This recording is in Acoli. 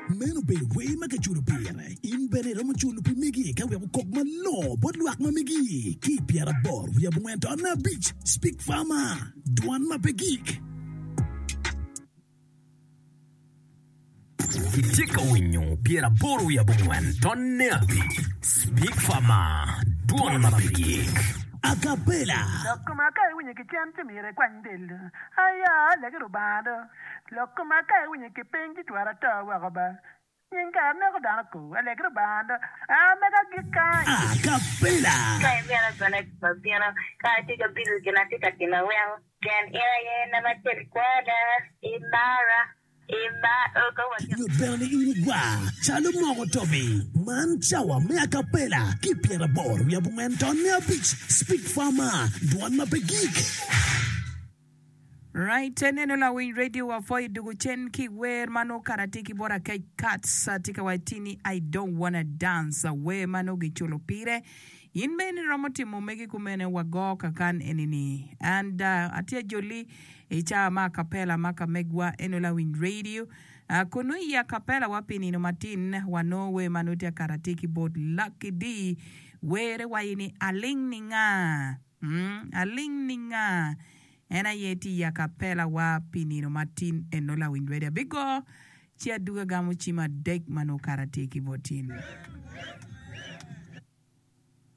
Meno obedo wer ma kiculo pire. In bene iromo culo pi megi ka wek okok malongo bot lwak ma megi ki i pyeraboro wiye abongwen tonne abic. Speak Farmer, Dwan ma pe gik. Itye ka winyo 84 tonne abic Speak Farmer, Dwon ma pe gik. Acapella. Lok koma ka iwinyo ki cen ci myero ikwany del do. Aya, alegi Rubanga do. Lok koma ka iwinyo ki piny ci twero ato woko ba. Nying kara neko dano ko. Alegi Rubanga do. A mega agik kany. Acapella. Ka imito bene abino, ka atye ka bido gin atye ka timo weko, pien in aye nama acel kwada, imara. Nyut bene ni in igwar calo moko tobi. Man cawa me acapella ki pyeraboro wiye abongwen tonne abic Speak Farmer, dwon ma pe gik. Right, eneno lawiny radio wa pwoyo dugu cen ki wer ma nongo kara tye ki bot Akec Kats tye ka waci ni I don't wanna dance wer ma nongo giculo pire. In bene iromo timo megi kumene wa go kakan eni ni. And atye ajoli I cawa ma acapella ma ka megwa eno lawiny radio. Kunu i acapella wa pi nino matin wa nongo wer ma nongo tye akato atir ki bot Lucky Dee. Were wayi ni aling ni nga? Mm, aling ni nga? En aye tye i acapella wa pi nino matin eno lawiny radio. Abigo ci aduga gamo cim adek ma nongo kato atir ki bot in.